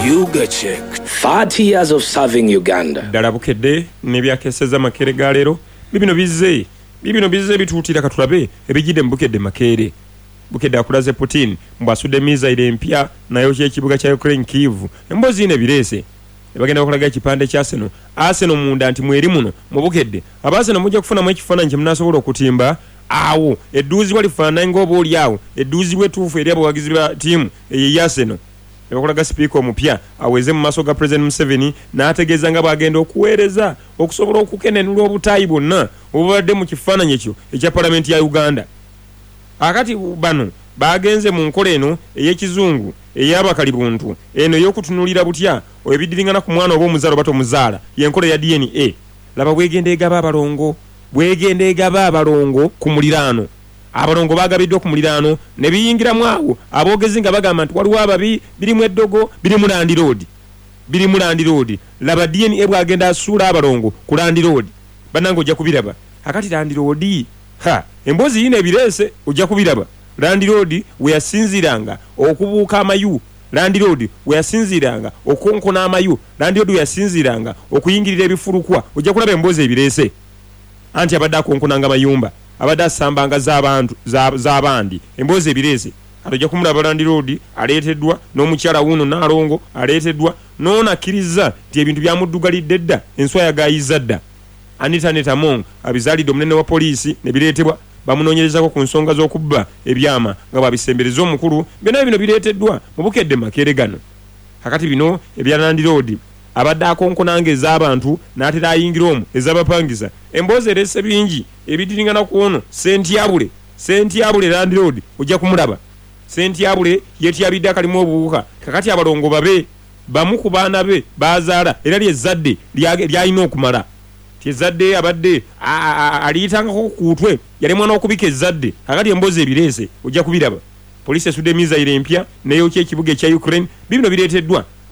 Yuga Check. 30 years of serving Uganda. Ddala Bukedde n'ebyakeseza Makeere ga leero bibino bizze, bibino bizze bituutira. Katulabe ebijjidde mu Bukedde Makeere. Bukedde akulaze Putin mbu asudde mizayiro empya nayokya ekibuga kya Ukraine Kyiv. Emboozi yino ebireese ne bagenda bakulaga ekipande kya Arsenal. Arsenal munda nti mweri muno mu Bukedde. Aba Arsenal mujja kufunamu ekifaananyi kye munaasobola okutimba awo edduuzibwa lifaanana ng'oba oli awo edduuzibwa ettuufu eri abawagizi ba ttiimu eyo eya Arsenal. Ne bakulaga sipiika omupya aweze mu maaso ga Pulezidenti Museveni n'ategeeza nga bw'agenda okuweereza okusobola okukenenula obutaayi bwonna obubadde mu kifaananyi ekyo ekya Palamenti ya Uganda. Akati bano baagenze mu nkola eno ey'ekizungu ey'abakalibuntu, eno ey'okutunuulira butya ebiddiringana ku mwana oba omuzaala oba tomuzaala, y'enkola eya DNA. Laba bw'egenda egaba abalongo, bw'egenda egaba abalongo ku muliraano. Abalongo baagabiddwa ku muliraano ne biyingiramu awo aboogezi nga bagamba nti waliwo ababi, birimu eddogo, birimu landiroodi, birimu landiroodi. Laba DNA bw'agenda asuula abalongo ku landiroodi. Bannange ojja kubiraba. Akati landiroodi, ha, emboozi yiino ebireese, ojja kubiraba. Landiroodi we yasinziiranga okubuuka amayu, landiroodi we yasinziiranga okukonkona amayu, landiroodi we yasinziiranga okuyingirira ebifulukwa. Ojja kulaba emboozi ebireese. Anti abadde akonkonanga mayumba, abadde asambanga z'abantu, za, z'abandi. Emboozi ebireese. Kati ojja kumulaba landiroodi aleeteddwa, n'omukyala wuuno Nnaalongo aleeteddwa, n'ono akkirizza nti ebintu byamuddugalidde dda, enswa yagaayizza dda. Anita Annet Among abizaalidde omunene wa poliisi ne bireetebwa. Bamunoonyerezako ku nsonga z'okubba ebyama nga bw'abisembereza omukulu. Byonna bino bireeteddwa mu Bukedde Makeere gano. Kakati bino ebya landiroodi abadde akonkona nga ez'abantu n'atera ayingira omwo ez'abapangisa. Emboozi ereese bingi ebiddiringana ku ono Ssentyabule. Ssentyabule landiroodi ojja kumulaba. Ssentyabule yeetyabidde akalimu obuwuka. Kakati abalongo babe bamu ku baana be b'azaala era lye zzadde ly'alina okumala. Nti ezzadde abadde aliyitangako ku kutwe yalemwa n'okubika ezzadde. Kaakati emboozi ebireese ojja kubiraba. Poliisi esudde mizayiro empya n'eyokya ekibuga ekya Ukraine. Biibino bireeteddwa